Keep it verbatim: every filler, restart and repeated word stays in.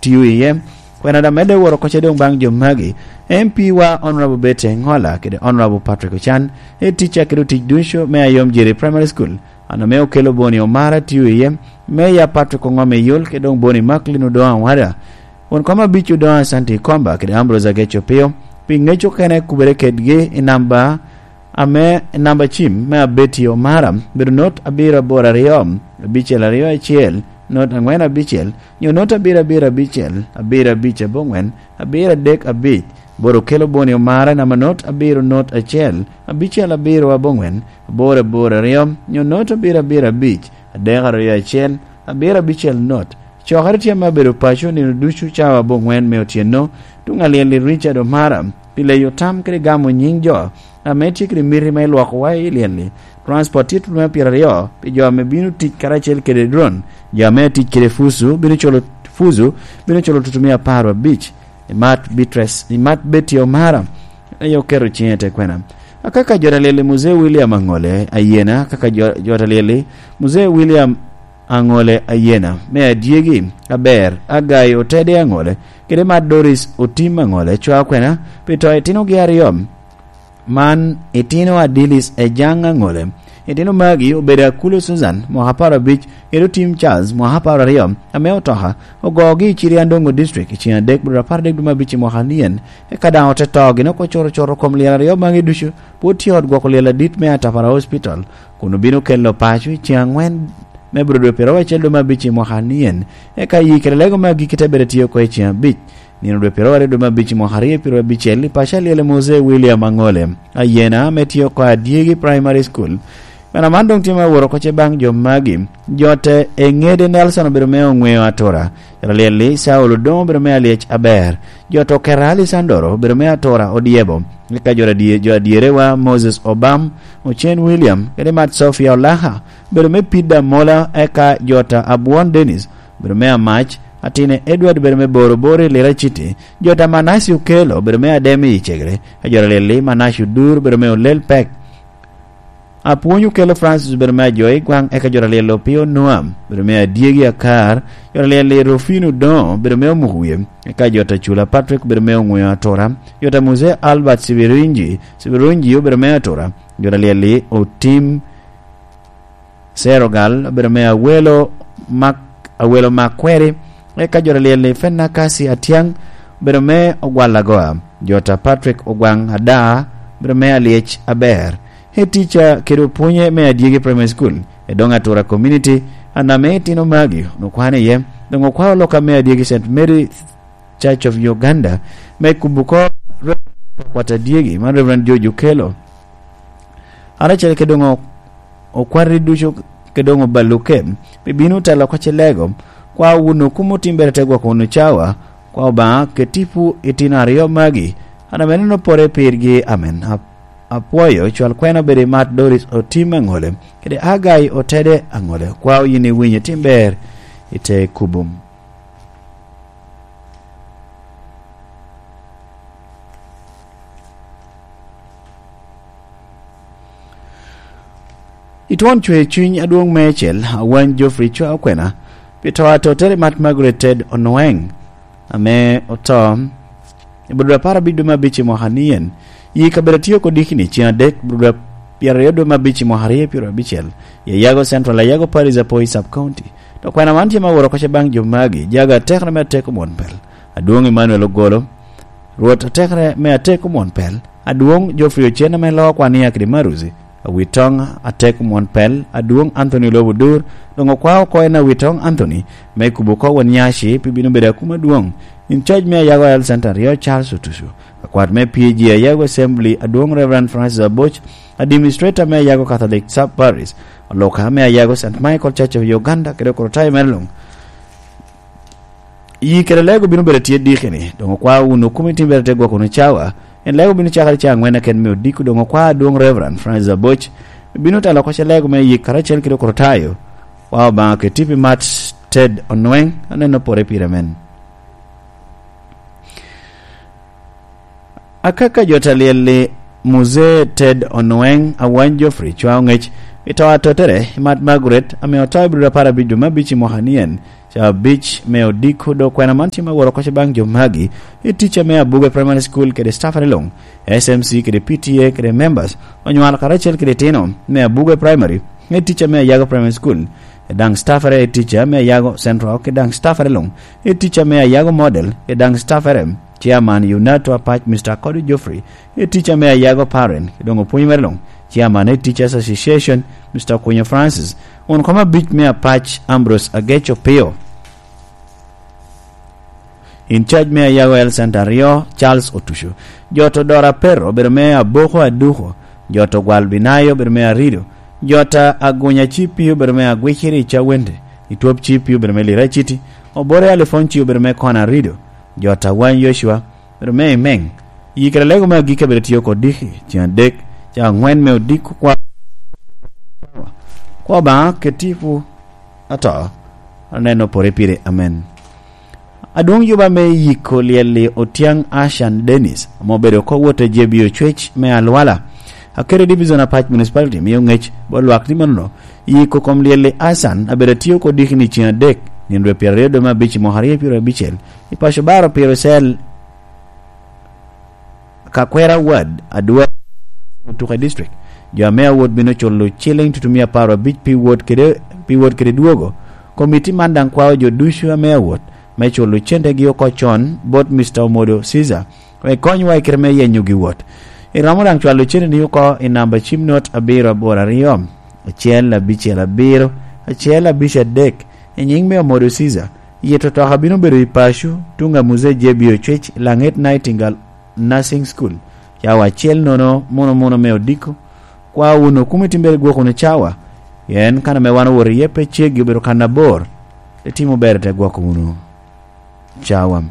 tio iye. Kwena da medde woro kocce doŋ baŋ jo magi, M P wa Honorable Betty Engola kede Honorable Patrick Ochan, e ticca kede otic ducu me Ayom Jiri Primary School, an ame okelo Boni Omara tio iye, Meya Patrick Ongom Eyol kede doŋ Boni Macklin Odoŋo Awada, won kom abic Odoŋo Asante Ikomba kede Ambrose Ageco Pio, pi ŋec okene kubere kedgi i namba ame namba cim me Abeti Omara bedo not abiro aboro aryo, abicel aryo acel, not aŋwen abicel, nyo not abiro abiro abicel, abiro abic aboŋwen, abiro adek abic, boro kelo Boni Omara namba not abiro not acel, abicel abiro aboŋwen, aboro aboro aryo, nyo not abiro abiro abic, adek aryo acel, abiro abicel not. Cokere tye ame abedo paco nino ducu cawa aboŋwen me otyeno, tuŋ alyel i Richard Omara, pi leyo tam kede gamo nyiŋ jo ame tye kede miti me lwokowa i lyel-li. Transport tye tutu me pyeraryo pi jo ame bino tic karacel kede drone. Jo ame tic kede fuzu bino culo, fuzu bino culo tutu mia apar abic. Imat Beatrice, imat Betty Omara, aye oketo ciŋe i te kwena. Akaka jot alyel-li Muzee William Aŋole Ayena, akaka jo-, jot alyel-li Muzee William Aŋole Ayena, me adyegi aber, Agai Otede Aŋole, kede mat Doris Otim Aŋole, cwa kwena, pi to itinogi aryo. Man itino Adilis Ejaŋ Aŋole. Itino magi obedo Akulo Susan, mwaka apar abic, kede Otim Charles, mwaka apar aryo, ame otoka ogogi i Ciriandongo District i ciŋ adek, bro apar adek dwe me abic i mwaka nien, eka daŋ ote to gin oko coro coro kom lyel aryo magi ducu, pwod tye ot gwoko lyel adit me Atapara Hospital, kun obino kelo paco i ciŋ aŋwen me bro dwe pyeraryo acel dwe me abic i mwaka nien, eka yi kede lego me agikki te bedo tye oko i ciŋ abic. Nino dwe pyeraryo aryo dwe me abic i mwaka aryo pyeraryo abicel i paco alyel i Mose William Aŋole Ayena ame tye oko Adyegi Primary School. Meno man doŋ tye me aworo oko ce baŋ jo magi. Jote Eŋede Nelson obedo me oŋweo atura. Jot alyel-li Saulo Odoŋo obedo me alyec aber. Jot Okera Alisandoro obedo me atura odyebo. Eka jot adye-, jo adyerewa Moses Obam, Ocen William, kede Mat Sofia Olaka obedo me Pida Mola, eka jot Abwon Dennis obedo me Amac, Atine Edward obedo me Boro Boro i Lira City, jot Amanasi Okelo obedo me Ademi i Cegere, ka jot alyel-li Manasi Odur obedo me Olel Pek. Apwony Okelo Francis obedo me Ajoyi Gwaŋ, eka jot alyel-li Opio Noam obedo me Adyegi Akar, jot alyel-li Rufino Odoŋo obedo me Omuko Wie, eka jot Acula Patrick obedo me Oŋweo Atura, jot Muse Albert Sibirunji, Sibirunji obedo me Atura, jot alyel-li Otim Serogal obedo me Awelo Mak-, Awelo Makweri, eka jot alyel-li Fenakasi Atyang obedo me Ogwal Agoa, jot a Patrick Ogwaŋ Ada obedo me Alyec Aber. E ticca kede opwonye me Adyegi Primary School, e doŋ Atura Community, an ame itino magi, onwoŋo kwano iye, doŋ okwao lok ame Adyegi Saint Mary Church of Uganda, me kubo ko Reverend Kwat Adyegi, man Reverend George Okello. An acel kede doŋ okwati ducu kede doŋ oballuke, pi bino telo oko ce lego, kwa wun okumo timbere te gwoko wunu cawa, kwa Obaŋa ket tipo itino aryo magi, an ame neno pore pirgi, amen. Ap-, apwoyo, cwal kwena obed i Mat Doris Otim Aŋole, kede Agai Otede Aŋole, kwa oyin iwinyo timber i te kubo. I twon cwer cuny adwoŋ meicel, Awany Geoffrey cwa okwena pi to atotere Mat Margaret Ted Onweng, ame oto i budura apar abic dwe me abic i mwaka nien. Yi kabedo atye oko dikini ciŋ adek, budura pyeraryo dwe me abic i mwaka aryo pyeraryo abicel, i Ayago Central, Ayago Parish, Apoi Sub County. To kwena man tye me aworo oko ce baŋ jo magi, jaga atekere me atek omwon pel, Adwoŋ Emmanuel Ogolo, Rwot atekere me atek omwon pel, Adwoŋ Geoffrey Ocen ame loo kwan i akidi Maruzi, Awitoŋ atek omwon pel, Adwoŋ Anthony Lobo Dur, doŋ okwao oko en Awitoŋ Anthony, me kubo oko won nyaci pi bino bedo akuma adwoŋ. In coc me Ayago Health Center aryo Charles Otucu, akwat me P G Ayago Assembly Adwoŋ Reverend Francis Aboc, Administrator me Ayago Catholic Sub Parish, oluka me Ayago Saint Michael Church of Uganda, kede okorotayo mere luŋ. Yi kede lego bino bedo tye dikini, doŋ okwao wunu kumi timbere te gwoko wunu cawa, en lego bino cakere ca aŋwen aken me odiko, doŋ okwao adwoŋ Reverend Francis Aboc, bino telo oko ce lego me yik karacel kede okorotayo, kwa Obaŋa ket tipo i Mat Ted Onweng, aneno pore pire men. Akaka jo ta lyel-li Muzee Ted Onweng, Awany Geoffrey, cwao ŋec I to atottere, Mat Margaret, ame oto i Abril apar abic dwe me abic i mwaka nien, ca abic me odiko dok kwena man tye ma woro koc baŋ jo magi, i ticca me Abuge Primary School kede staffere luŋ, S M C kede P T A kede members, onywalo karacel kede itino me Abuge Primary, i ticca me Ayago Primary School, e daŋ staffere i ticca me Ayago Central, kede daŋ staffere luŋ, i ticca me Ayago Model, kede daŋ staffere, Chairman Yunato Apac, Mister Kodu Geoffrey, i ticca me Ayago Parent, kede doŋ opwony mere luŋ, Chairman i Teachers Association, Mister Kunyo Francis, won kom abic me Apac, Ambrose Agec Opio. In charge me Ayago Health Center aryo, Charles Otuco. Jot Odora Pero obedo me Aboko Aduko. Jot Ogwal Binayo obedo me Arido. Jot Agunya Cipi obedo me Agwiciri i Cawente. Itwop Cipi obedo me Lira Citi. Obore Alifonci obedo me Kona Arido. Jot Awany Yocua obedo me Imeng. Yikere lego me agikki abedo tye oko diki, ceng adek, ceng angwen me odiko kwa. Kwa Obaŋa ket tipo ato, aneno pore pire. Amen. Adwoŋ juba me yiko lyel-li Otiaŋ Ashan Dennis, ame obedo oko wot a J B Ocwec me Alwala, Akere Division Apac Municipality, mio ŋec bot lwak ni manono, yiko kom lyel-li Ashan abedo atye oko diki ni ceng adek, nino dwe pyeraryo dwe me abic i mwaka aryo pyeraryo abicel, i paco Baro Piro Cell, Kakwera Ward, Adwa, Otuke District. Jo ame awot bino culo ciliŋ tutumia apar abic pi wot kede, pi wot kede dwogo. Komiti man daŋ kwao jo ducu ame awot me culo centegi oko con bot Mister Omodo Caesar, wek konywa i kite me yenyo gi wot. Iromo daŋ cwalo centeni oko i namba cim not abiro aboro aryo, acel abicel abiro, acel abic adek, i nyiŋ me Omodo Caesar, Yito twak abino bedo i paco, tuŋ a Muzee J B Ocwec, Laŋet Nightingale Nursing School, cawa acel nono muno muno me odiko. Kwa wunu, kumi timbere gwok wunu cawa, pien kan ame wan owoto iye pe ceggi, obedo kan abor. Itimo ber, te gwoko wunu cawa.